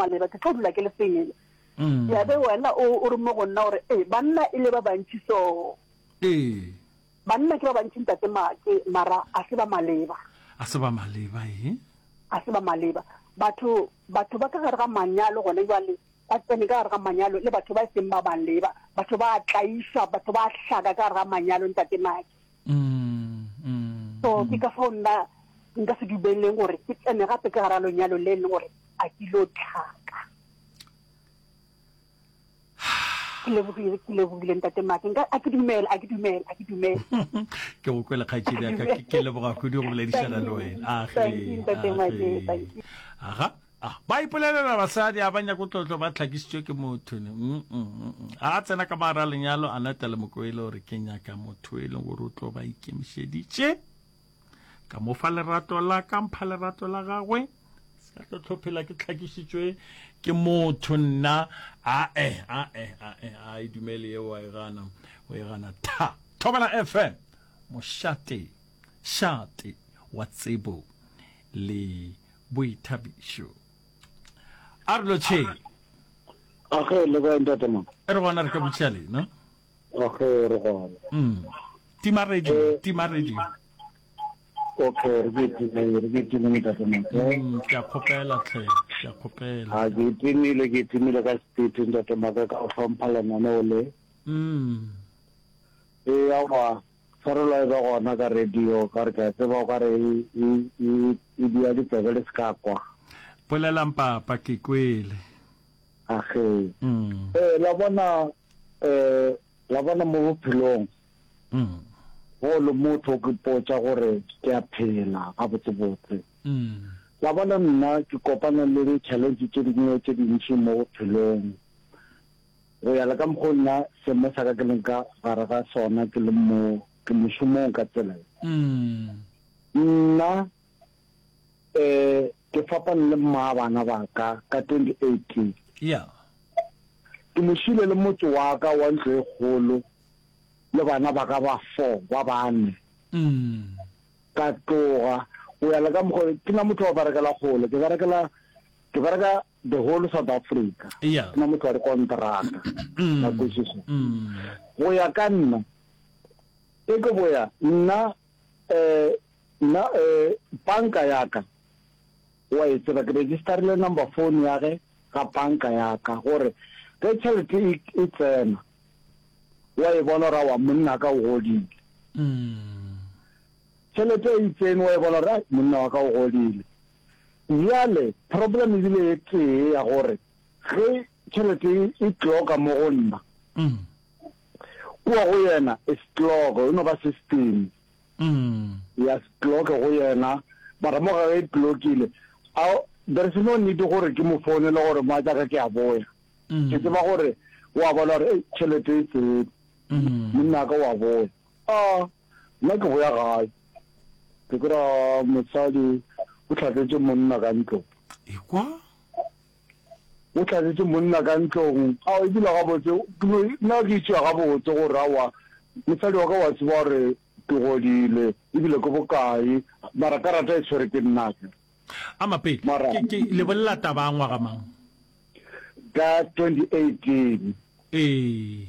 maleba, ke tlo dula ke le single. Ya be wena o o re mo go nna gore ee banna e le ba bantši so. Ee. Banna ke ba bantši ntate Make mara a se ba maleba. A se ba maleba ee. A se ba maleba. Batho batho ba ka gare ga manyalo gone jwale ba tsene ka gare ga manyalo le batho ba e seng ba maleba. Batho ba a tlaišwa, batho ba a hlaka ka gare ga manyalo ntate Make. So ke ka fao nna nka se dumeleng gore ke tsene gape ka gare ga lenyalo le e leng gore a ke lo tlhaka. Ke lebogile, ke lebogile ntate Make. Nka a ke dumele, a ke dumele, a ke dumele. Ke go kwele kgaetšedi ya ka, ke leboga kudu go boledišana le wena. A Thank you ntate Make, thank you. Aga. Ah, ba ipolelela basadi a ba nyako tlotlo ba tlhakisitswe ke motho ne. Mm, mm, mm, mm. A tsena ka mogare a lenyalo a nata le mokoele gore ke nyaka motho e leng gore o tlo ba ikemišeditše ka mo fa lerato la ka mpha lerato la gagwe se ka tlo tlhophela ke tlhakišitšwe ke motho nna ae ae ae a e dumele eo a e gana o e gana tha thobela fm mošate šate wa tsebo le boithabišo. A re lotšheng. Age le kae ntate Mama? Re gona re ka botšiša lena. Age re gona. Mm. Tima radio, eh, tima radio. Okay, re ke timile, re ke timile ntate Mama. Mm, ke a kgopela tlhe, ke a kgopela. A ke timile, ke timile ka speed ntate Mama ka go hlompha lenaneo le. Mm. Ee, aowa, tshwarelo e be gona ka radio, ka re ke a tseba o ka re e, e, e, e dia ditsebe le se ka kwa. Bolelang papa, ke kwele. Age. Mm. Ee, la bona, eh, la bona mo bophelong, Mm. go le motho o ke potša gore ke a phela gabotsebotse. Mm. La bona nna ke kopana le di-challenge tše dingwe tše dintši mo bophelong. Go ya le ka mokgo nna seemo sa ka ke leng ka gare ga sona ke le mo ke mošomong ka tsela ye. Nna um ke fapane le mma bana ba ka ka 2018. Yeah. Ke mo šile le motse wa ka wa ntlo e kgolo le bana ba ka ba four ba bane. Ka tloga go ya le ka mokgo ke na motho wa berekela kgole ke berekela ke bereka the whole South Africa. Yeah. Ke na motho wa dikonteraka. Mm. La kwešiša. Mm. Go ya ka nna, e ke boya nna eh nna eh banka ya ka wa e tseba ke registerile number phone ya ge ga banka ya ka gore ge tšhelete e, e tsena wa e bona gore aowa monna ka o godile. Mm. Tšhelete e tsene wa e bona gore ai monna wa ka o godile. Bjale problem e bile e tee ya gore ge tšhelete e clocka mo go nna, kua go yena e se clocke, e no ba system ya se clocke go yena, mara mo ga ge e clockile, there is no need gore ke mo founele gore mogatšaka ke a boya. Ke tseba gore o a bona gore ei tšhelete e tsene, monna wa ka o a boya. A nna ke boya gae. Ke kry-a mosadi o hlatletše monna ka ntlong. Ekwa? O hlatletše monna ka ntlong. Ao, ebile gabotse, nna ke itšea gabotse gore aowa, mosadi wa ka wa tseba gore ke godile, ebile ke bokae, mara karata e tshwere ke nna akere. A Mapele, Mara. ke, ke le bolela taba ya ngwaga mang? Ka 2018. Ee.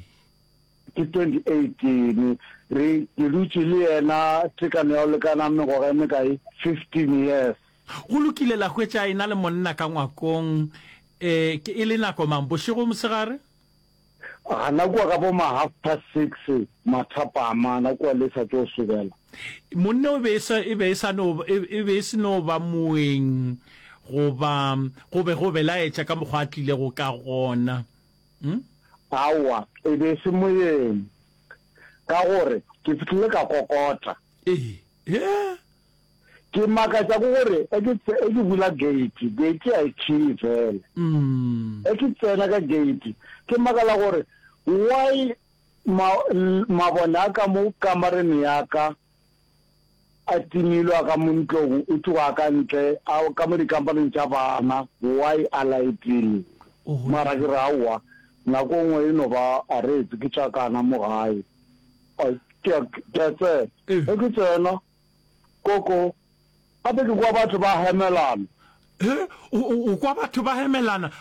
Ke 2018, re, ke dutše le yena tekano ya go lekana mengwaga e mekae? 15 years. Go lokile, la hwetša a ena le monna ka ngwakong, e, ke, e le nako mang? Bošego, mosegare? Gana kua ka bo ma half past six, mathapama, gana kua le sa tšo sobela. Monna o be e sa, e be e sa no, e, e be e se no ba moeng, goba go be go belaetša ka mokgwa a tlilego ka gona. Hm? Aowa, e be e se moeng, ka gore ke fihlile ka kokota. Ee. He? Ke makatša ke gore e ke, e ke bula gate, gate a e khiyi fela. Mm. E ke tsena ka gate, ke makala gore why ma, mabone a ka mo kamareng ya ka a timilwe a ka mo ntlong o tloga a ka ntle a ka mo dikampaneng tša bana why a laetile mara ke re aowa nako nngwe e no ba a retse ke tša kana mo gae ke a tsena ge ke tsena koko gape ke kwa batho ba hemelana o kwa batho ba hemelana.